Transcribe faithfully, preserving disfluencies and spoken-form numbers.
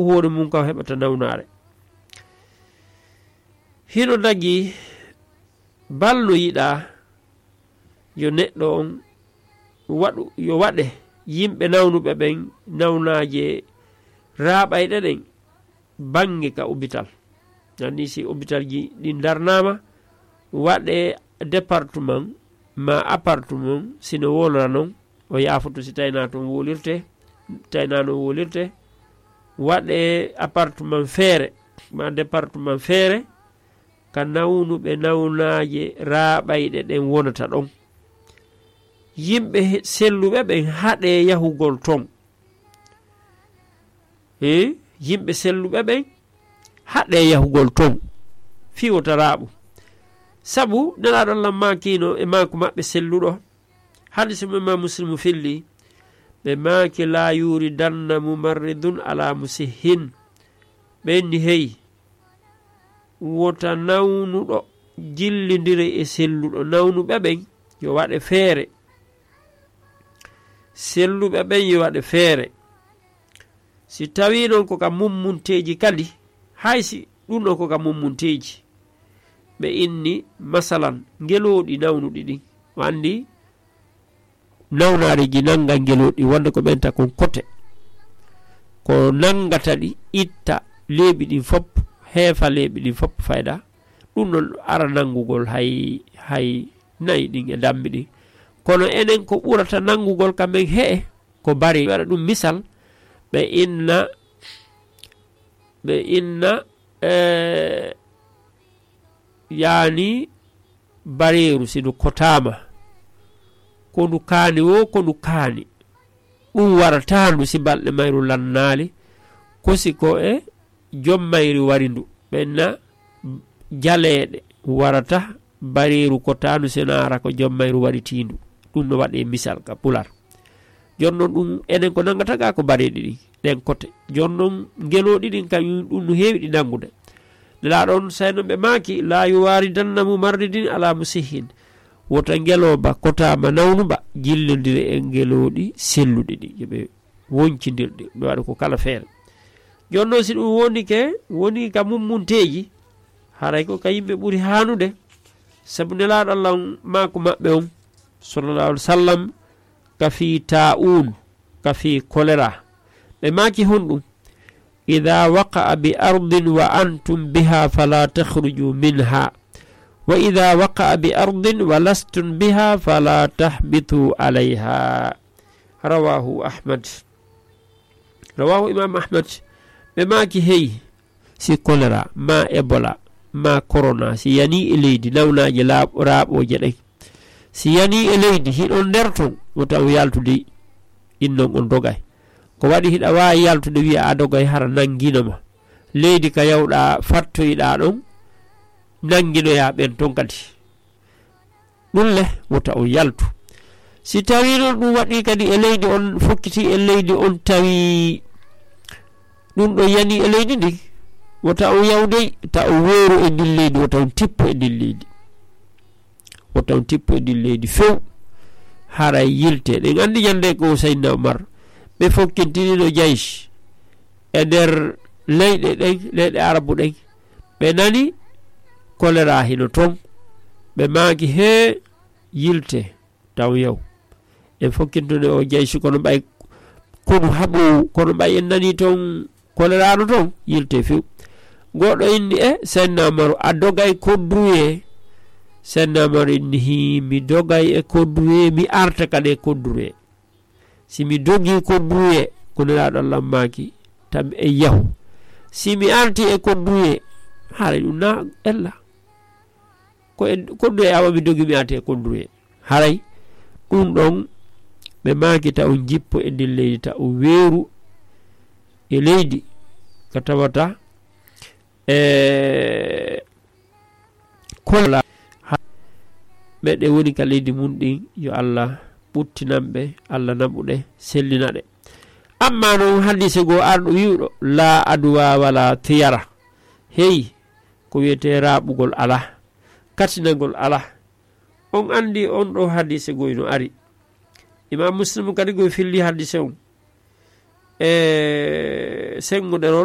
hoore mum ka o heɓata nawnaare. Hino dagi balno yiɗaa yo neɗɗo on waɗu, yo waɗe yimɓe nawnuɓe ɓen nawnaaje raaɓayɗe ɗen bannge ka hôpital. Anni si hôpital ji ɗin darnaama, waɗe département ma appartement, sino wolora non, o yaafoto si taynaa ton wolirte, taynaa non wolirte, waɗe appartement feere ma département feere, ka nawnuɓe nawnaaje raaɓayɗe ɗen wonata ɗon. Yimɓe he-, selluɓe ɓen haɗee yahugol ton. He, yimɓe selluɓe ɓen haɗee yahugol ton fii wota raaɓu. Sabu Nelaaɗo Allah maakiino e maaku maɓɓe selluɗo, hadiisu mo Imam Muslimu filli, ɓe maaki, "La yuridanna mumarridun ala musihin." Ɓe inni, hey, wota nawnuɗo jillindire e selluɗo. Nawnuɓe ɓen yo waɗe feere. Selluɓe ɓen yo waɗe feere. Si tawii non ko ka mummunteeji kadi, hay si ɗum ɗon ko ka mummunteeji, ɓe inni, masalan, ngelooɗi nawnuɗi ɗin. O anndi nawnaare ji nannga ngelooɗi, wonde ko ɓenta kon kote. Ko nanngata ɗi, itta leeɓi ɗin fof, heefa leeɓi ɗin fof fayda. Ɗum ɗon ara nanngugol hay, hay nayi ɗin e dammi ɗin. Kono enen ko ɓurata nanngugol ka men he'e, ko bari. Waɗa ɗum misal, ɓe inna, ɓe inna, e, yaani bareeru, si ndu kotaama, ko ndu kaani woo, ko ndu kaani. Ɗum warataa ndu si balɗe mayru lannaali, ko si ko e jom mayri wari ndu. Ɓenna jaleeɗe warata bareeru kotaandu, si naara ko jom mayru waritiindu. Ɗum no waɗee misal ka pular. Jooni non ɗum enen ko nanngata ka ko bareeɗi ɗin, ɗen kote. Jooni non ngelooɗi ɗin kañum ɗum no heewi ɗi nanngude. Nelaaɗo on say non ɓe maaki, "La yuwaridanna mumarridin ala musihin." Wota ngelooba kotaama nawnuba jillondire e ngelooɗi selluɗi ɗi. Yo ɓe woncindirɗi, ɓe waɗa ko kala feere. Jooni non si ɗum woni ke, woni ka mummunteeji, haray ko ka yimɓe ɓuri haanude. Sabu Nelaaɗo Allah on maaku maɓɓe on, sallallahu alaihi wasallam, ka fii taa'un, ka fii kolera. Ɓe maaki honɗum? "Idha waqa'a bi ardin wa antum biha fala takhruju minha. Wa idha waqa'a bi ardin wa lastum biha fala tahbitu alayha." Rawahu Ahmad. Rawahu Imam Ahmad. Ɓe maaki, hey, si kolera, ma Ebola, ma korona, si yanii e leydi, nawnaaje laaɓ-, raaɓooje ɗen. Si yanii e leydi, hiɗon nder ton, wota on yaltu dey, innon on dogay. Ko waɗi hiɗa waawi yaltude, wi'a a dogay, hara nanngino ma. Leydi ka yawɗaa, fattoyɗaa ɗon, nannginoyaa ɓen ton kadi. Ɗum le, wota on yaltu. Si tawii non ɗum waɗii kadi e leydi on, fokkiti e leydi on, tawi ɗum ɗo yanii e leydi ndin, wota on yaw dey, ta on weeru e ndin leydi, wota on tippu e ndin leydi. Wota on tippu e ndin leydi few, haray yilte. Ɗen anndi ñannde ko Seydina Umar, ɓe fokkintiniino jaysi e nder leyɗe ɗen, leyɗe Arabu ɗen. Ɓe nani kolera hino ton, ɓe maaki, hee, yilte. Taw yow. En fokkintune o jeysi kono ɓay konu haɓu, kono ɓay en nani ton koleraano ton, yilte few. Goɗɗo inni, e, Senna Umaru, a dogay kodduye? Senna Umaru inni, hi, mi dogay e kodduye, mi arta kadi e kodduye. Si mi dogi kodduye, ko Nelaaɗo Allah maaki, tan en yahu. Si mi arti e kodduye, haray ɗum na ella. Ko e kodduye awa mi dogi mi arti e kodduye. Haray ɗum ɗon ɓe maaki ta on jippo e ndin leydi, ta on weeru e leydi, ka tawata e kola ɓe ɗe woni ka leydi mun ɗin, yo Allah ɓuttinan ɓe, Allah naɓu ɗe, sellina ɗe. Amma non hadiise goo arɗo wi'uɗo, "Laa aduwa wala tiyara." Hey, ko wi'etee raaɓugol alaa, katinagol alaa. On anndi on ɗoo hadiise goo no ari. Imam Muslim kadi goo filli hadiise on. E senngo ɗerol